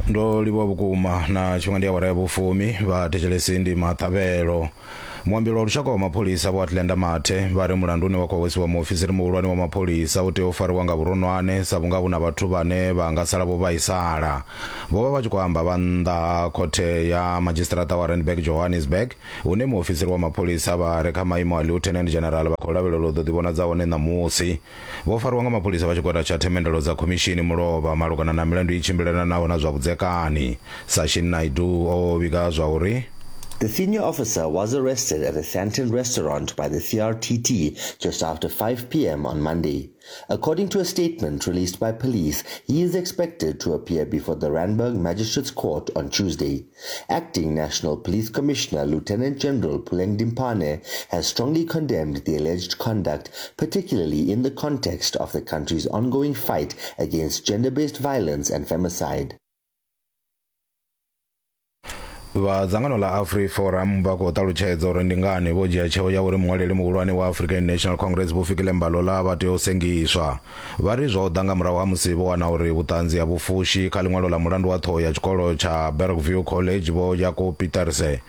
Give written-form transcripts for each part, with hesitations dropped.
Ndo livhuwa vhukuma na tshifhinga ndi awara ya vhufumi vhathetshelesi ndi maṱavhelo. Muambeli wa lushaka wa mapholisa Vho Atlenda Mathe vha ri mulandu une wa khou hwesiwa muofisiri muhulwane wa mapholisa u tea u fariwa nga vhuronwane sa vhunga hu na vhathu vhane vha nga sala vho vhaisala. Vho vha vha tshi khou amba vha nnḓa ha khothe ya madzhisiṱiraṱa wa Randburg Johannesburg hune muofisiri wa mapholisa vha re kha maimo a Lieutenant General vha khou lavhelelwa u ḓo ḓivhonadza hone ṋamusi. Vho fariwa nga mapholisa vha tshigwada tsha themendelo dza khomishini mulovha malugana na milandu i tshimbilelanaho na zwa vhudzekani. Sashin Naidoo o vhiga zwa uri. The senior officer was arrested at a Sandton restaurant by the CRTT just after 5 p.m. on Monday. According to a statement released by police, he is expected to appear before the Randburg Magistrates Court on Tuesday. Acting National Police Commissioner Lieutenant General Puleng Dimpane has strongly condemned the alleged conduct, particularly in the context of the country's ongoing fight against gender-based violence and femicide. Vha dzangano ḽa AfriForum vha khou ṱalutshedza uri ndi ngani vho dzhia tsheo ya uri muṅwaleli muhulwane wa African National Congress Vho Fikile Mbalula vha tea u sengiswa. Vha ri zwo ḓa nga murahu ha musi vho wana uri vhuṱanzi a vhu fushi kha ḽiṅwalo ḽa mulandu wa ṱhoho ya tshikolo tsha Bergview College Vho Jaco Pieterse.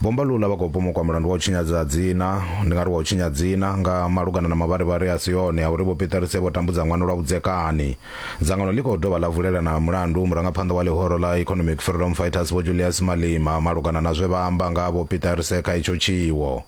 Vho Mbalula vha khou pomokwa mulandu wa u tshinyadza dzina, ndi nga ri wa u tshinya dzina, nga malugana na mavharivhari a si one a uri Vho Pieterse vho tambudza ṅwana lwa vhudzekani. Dzangano ḽi khou dovha ḽa vulela na mulandu murangaphanḓa wa ḽihoro ḽa Economic Freedom Fighters Vho Julius Malema malugana na zwe vha amba nga ha Vho Pieterse kha itsho tshiwo.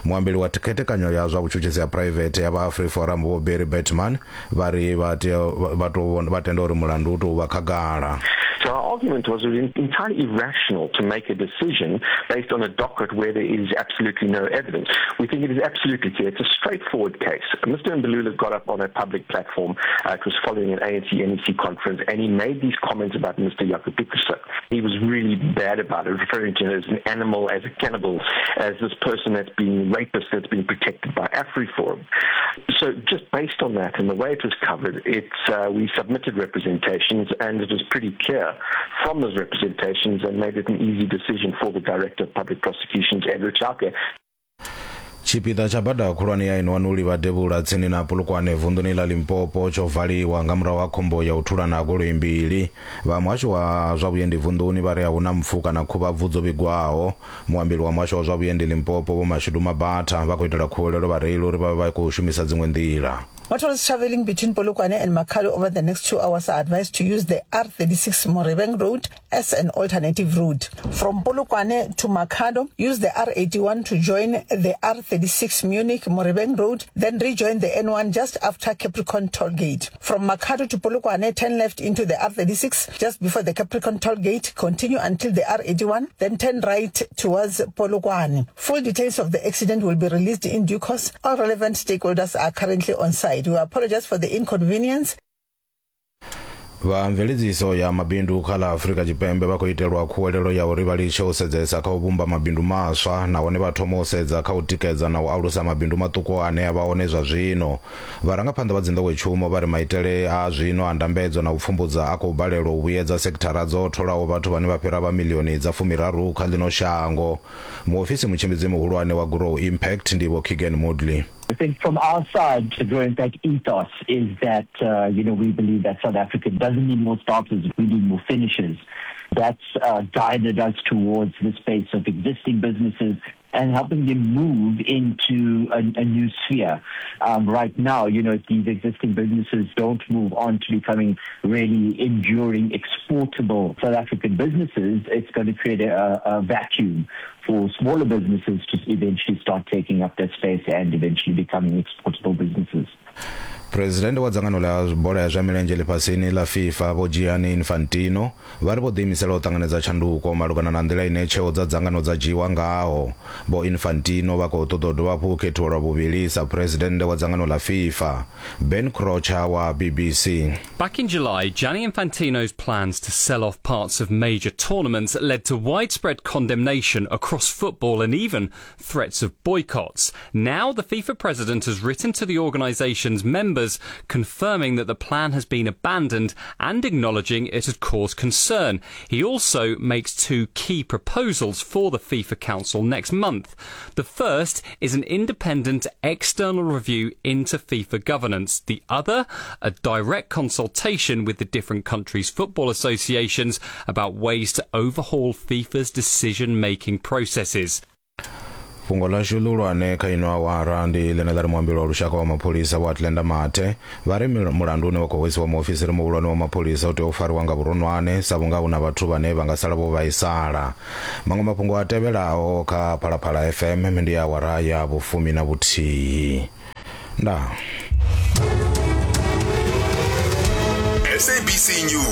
Muambeli wa khethekanyo ya zwa vhutshutshisi ha phuraivethe ya vha AfriForum Vho Barry Baartman vha ri vha tea vha tou vha tenda uri mulandu u tou vha khagala. So our argument was it was entirely irrational to make a decision based on a docket where there is absolutely no evidence. We think it is absolutely clear. It's a straightforward case. Mr. Mbalula got up on a public platform. Uh, it was following an ANC NEC conference, and he made these comments about Mr. Jaco Pieterse. He was really bad about it, referring to him as an animal, as a cannibal, as this person that's been rapist that's been protected by AfriForum. So just based on that and the way it was covered, it's, uh, we submitted representations and it was pretty clear from those representations and made it an easy decision for the Director of Public Prosecutions, Edward Chauke. Tshipiḓa tsha bada khulwane ya N1 u livha devhula tsini na Polokwane vunḓuni ḽa Limpopo tsho valiwa nga murahu ha khombo ya u thulana ha goloi mbili. Vha muhasho wa zwa vhuendi vunḓuni vha ri a huna mpfu kana khuvhabvu dzo vhigwaho. Muambeli wa muhasho wa zwa vhuendi Limpopo Vho Mashudu Mabatha vha khou itela khuwelelo vhareili uri vha vhe vha khou shumisa dziṅwe nḓila. Motorists traveling between Polokwane and Makhado over the next two hours are advised to use the R36 Morebeng Road as an alternative route. From Polokwane to Makhado, use the R81 to join the R36 Munich Morebeng Road, then rejoin the N1 just after Capricorn Toll Gate. From Makhado to Polokwane, turn left into the R36 just before the Capricorn Toll Gate, continue until the R81, then turn right towards Polokwane. Full details of the accident will be released in due course. All relevant stakeholders are currently on site. We apologize for the inconvenience. Vha mveledziso ya mabindu kha ḽa Afrika Tshipembe vha khou itelwa khuwelelo ya uri vha litshe u sedzesa kha u vhumba mabindu maswa nahone vha thoma u sedza kha u tikedza na u alusa mabindu maṱuku ane a vha hone zwa zwino. Vharangaphanḓa vha dzinḓowetshumo vha ri maitele a zwino a ndambedzo na u pfumbudza a khou balelwa u vhuyedza sekithara dzo tholaho vhathu vhane vha fhira vha miḽioni dza fumiraru kha ḽino shango. Muofisi mutshimbidzi muhulwane wa Grow Impact ndi Vho Keegan Moodley. I think from our side, the Grow Impact ethos is that, uh, you know, we believe that South Africa doesn't need more starters, we need more finishers. That's uh, guided us towards the space of existing businesses and helping them move into a, a new sphere. Um, right now, you know, these existing businesses don't move on to becoming really enduring, exportable South African businesses, it's going to create a, a vacuum for smaller businesses to eventually start taking up that space and eventually becoming exportable businesses. Presidennde wa dzangano ḽa bola ya zwa milenzhe ḽifhasini ḽa FIFA Vho Gianni Infantino vha ri vho ḓiimisela u ṱanganedza tshanduko malugana na nḓila ine tsheo dza dzangano dza dzhiiwa ngaho. Vho Infantino vha khou ṱoḓa u dovha hafhu u khethiwa lwa vhuvhili sa Phresidennde wa dzangano ḽa FIFA. Ben Croucher wa BBC. Back in July, Gianni Infantino's plans to sell off parts of major tournaments led to widespread condemnation across football and even threats of boycotts. Now, the FIFA president has written to the organisation's members members, confirming that the plan has been abandoned and acknowledging it had caused concern. He also makes two key proposals for the FIFA Council next month. The first is an independent external review into FIFA governance. The other, a direct consultation with the different countries' football associations about ways to overhaul FIFA's decision making processes. Fhungo ḽashu ḽihulwane kha ino awara ndi ḽine ḽa ri muambeli wa lushaka wa mapholisa Vho Atlenda Mathe vha ri mulandu une wa khou hwesiwa muofisiri muhulwane wa mapholisa u tea u fariwa nga vhuronwane sa vhunga hu na vhathu vhane vha nga sala vho vhaisala. Maṅwe mafhungo a tevhelaho kha Phalaphala FM ndi awara ya vhufumi na vhuthihi. Ndaa. SABC News.